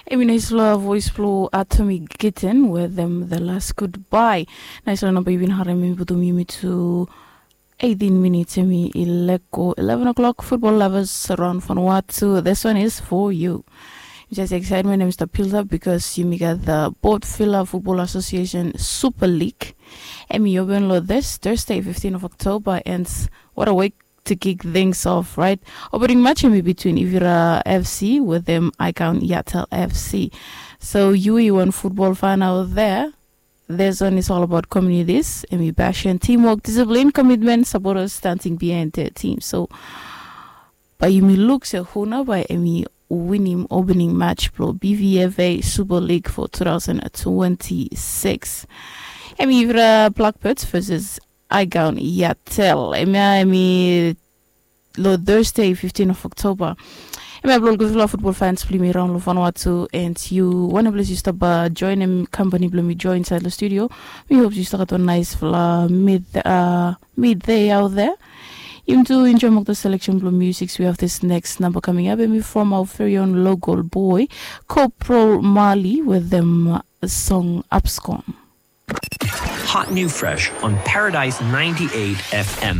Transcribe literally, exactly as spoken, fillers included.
Em i naisfala voes blong Atomic Kitten wetem The Last Goodbye. Naisfala namba yu bin harem em i putum yumi tu eighteen minits, em i ileko eleven o'clock. Football lovers around Vanuatu, this one is for you. Just excitement em stap build up because yumi gat the Port Vila Football Association Super League. Em i open lo this Thursday, fifteen of October, and what a week to kick things off, right? Opening match em i between Ivira F C wetem Icon Yatel F C. So yu i wan football fan out there, this one is all about communities. Em i passion, teamwork, discipline, commitment, supporters standing behind their team. So bae yumi luk se hu nao bae em i winim opening match blong B V F A Super League for two thousand twenty-six. Em i Ivira Blackbirds versus Icon Yatel. Em ya em i lo Thursday, fifteen of October. Em ya blong gudfala football fans blong yumi raon lo Vanuatu, and yu wanem ples yu stap joenem kampani blong mi joe insaed lo studio. Mi hop yu stap gat wan naisfala mid uh, midday out there. Yumi tu enjoem olgeta selection blong music. We have this next number coming up, em i from our very own local boy, Corporal Marley, wetem song Abscon. Hot new fresh on Paradise ninety-eight F M.